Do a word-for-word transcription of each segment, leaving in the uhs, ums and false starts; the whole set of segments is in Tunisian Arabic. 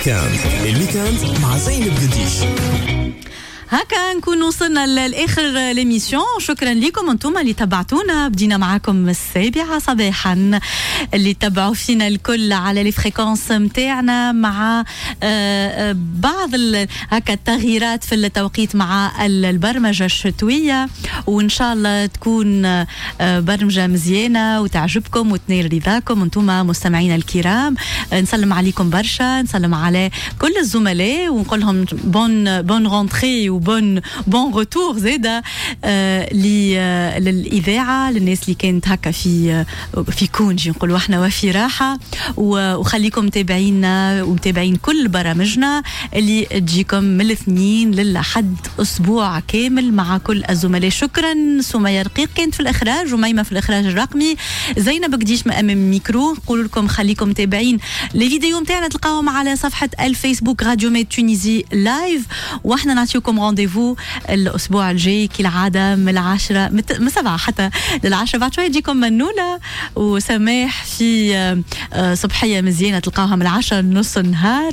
week-end، ال week-end مع زينب قديش. هكا نكون وصلنا لاخر l'émission. شكرا لكم انتم اللي تبعتونا، بدينا معاكم السابعة صباحا، اللي تبعوا فينا الكل على les fréquences نتاعنا مع آه، آه، بعض هكا التغييرات في التوقيت مع البرمجة الشتويه، وان شاء الله تكون آه، برمجة مزيانه وتعجبكم وتنال رضاكم انتم مستمعينا الكرام. نسلم عليكم برشا، نسلم على كل الزملاء ونقول لهم bonne bonne rentrée و bon bon retour زاده آه للاذاعه، للناس اللي كانت هكا في في congé نقولوا احنا وفي راحه. وخليكم متابعينا ومتابعين كل برامجنا اللي تجيكم من الاثنين للحد اسبوع كامل مع كل الزملاء. شكرا سمية رقيق كانت في الاخراج، وميمة في الاخراج الرقمي، زينب قديش ما امام الميكرو. نقول لكم خليكم متابعين les vidéos نتاعنا، تلقاهم على صفحة الفيسبوك راديو ميد Tunisie live، واحنا نعطيكم rendez-vous الاسبوع الجاي كالعادة من العشرة، من سبعة حتى للعشرة. بعد شوية تجيكم منوله وسماح في آه، صبحيه مزيانه تلقاوها من العشرة نص النهار،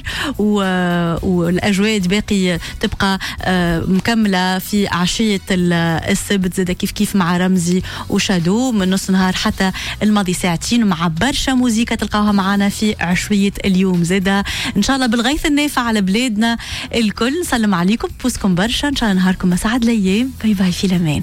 والاجواء باقي تبقى آه، مكملة في عشية السبت زاد كيف كيف مع رمزي وشادو من نص نهار حتى الماضي ساعتين مع برشا موزيكا تلقاوها معنا في عشويه اليوم زاده. ان شاء الله بالغيث النافع على بلادنا الكل. نسلم عليكم، بوسكم برشا، ان شاء الله نهاركم اسعد الايام. bye bye، في الامان.